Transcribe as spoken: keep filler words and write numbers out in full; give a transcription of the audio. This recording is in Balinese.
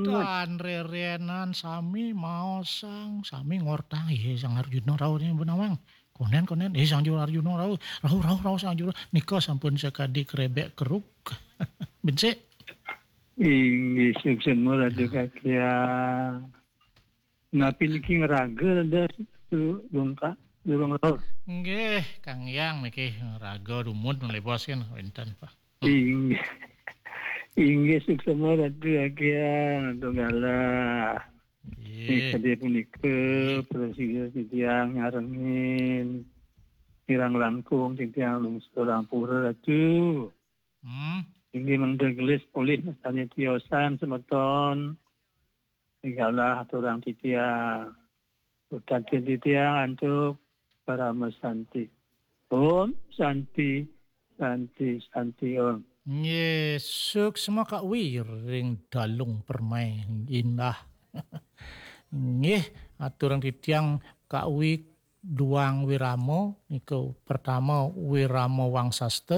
Tan rerenan sami maosang, sami ngortang, "Ih, Sang Arjuna rauh ni benawang. Konen, konen, ih, Sang Juru Arjuna rauh, rauh, rauh, rauh, Sang Juru." Nika sampun sakadi krebek keruk. Bensik. Inggih, suksma Ratu Kakyang. Napi niki ngraga rada tu dongkak, durung rauh? Nggih, Kang Yang niki ngraga dumun lebos kan wénten, Pak. Inggih. Inggih, suksma Ratu Akyang, Ratu Galah. Nggih. Ing sadaya punika, prasida titiang nyarengin kirang langkung titiang lungsur ampura, Ratu. Hmm. Inggih mangda gelis polih mastani tiosan semeton. Galah aturang titiang. Utantin titiang antuk parama santi. Om Santi, Santi, Santi Om. Nggih, suksma Kak Wi ring Dalung Permai Indah. Nggih, aturang titiang Kak Wi duang wirama, niku pertama wirama wangsasta,